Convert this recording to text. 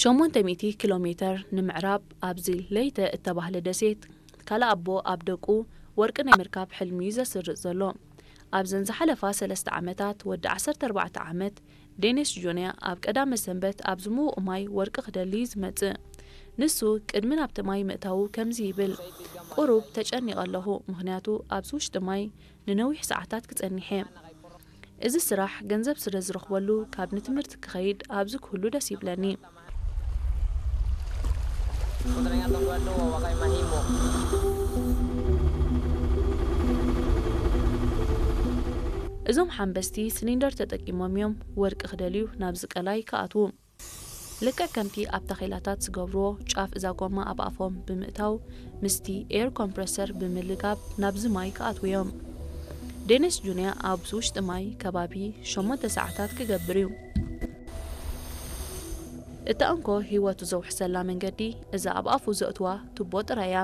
ሸሞንተ ሚእቲ ኪሎ ሜተር ንምዕራብ ኣብዚ ለይተ እተባህለ ደሴት፣ ካልእ ኣቦ ኣብ ደቁ ወርቂ ናይ ምርካብ ሕልሚ እዩ ዘስርጽ ዘሎ። ኣብዘን ዝሓለፋ ሰለስተ ዓመታት፣ ወዲ ዓሰርተ ኣርባዕተ ዓመት ዴኒስ ጁንያ ኣብ ቀዳመ ሰንበት ኣብዚ ምዉቕ ማይ ወርቂ ክደሊ እዩ ዝመጽእ። ንሱ ቅድሚ ናብቲ ማይ ምእታዉ ከምዚ ይብል፣ "ቁሩብ ተጨኒቐ ኣለኹ፣ ምኽንያቱ ኣብዚ ውሽጢ ማይ ንነዊሕ ሰዓታት ክጸኒሕ እየ። እዚ ስራሕ ገንዘብ ስለ ዝረኽበሉ፣ ካብ ንትምህርቲ ክኸይድ ኣብዚ ክህሉ ደስ ይብለኒ።" እዞም ሓንበስቲ ሲሊንደር ተጠቂሞም እዮም ወርቂ ክደልዩ ናብዚ ቀላይ ክኣትዉ። ልክዕ ከምቲ ኣብ ታኼላታት ዝገብርዎ፣ ጫፍ እዛ ጎማ ኣብ ኣፎም ብምእታው፣ ምስቲ ኤር ኮምፕረሰር ብምልጋብ ናብዚ ማይ ክኣትዉ እዮም። ዴኒስ ጁንያ ኣብዚ ውሽጢ ማይ ከባቢ ሸሞንተ ሰዓታት ክገብር እዩ። እታ እንኮ ህይወቱ ዘውሕሰላ መንገዲ እዛ ኣብ ኣፉ ዘእትዋ ቱቦ ጥራይ እያ።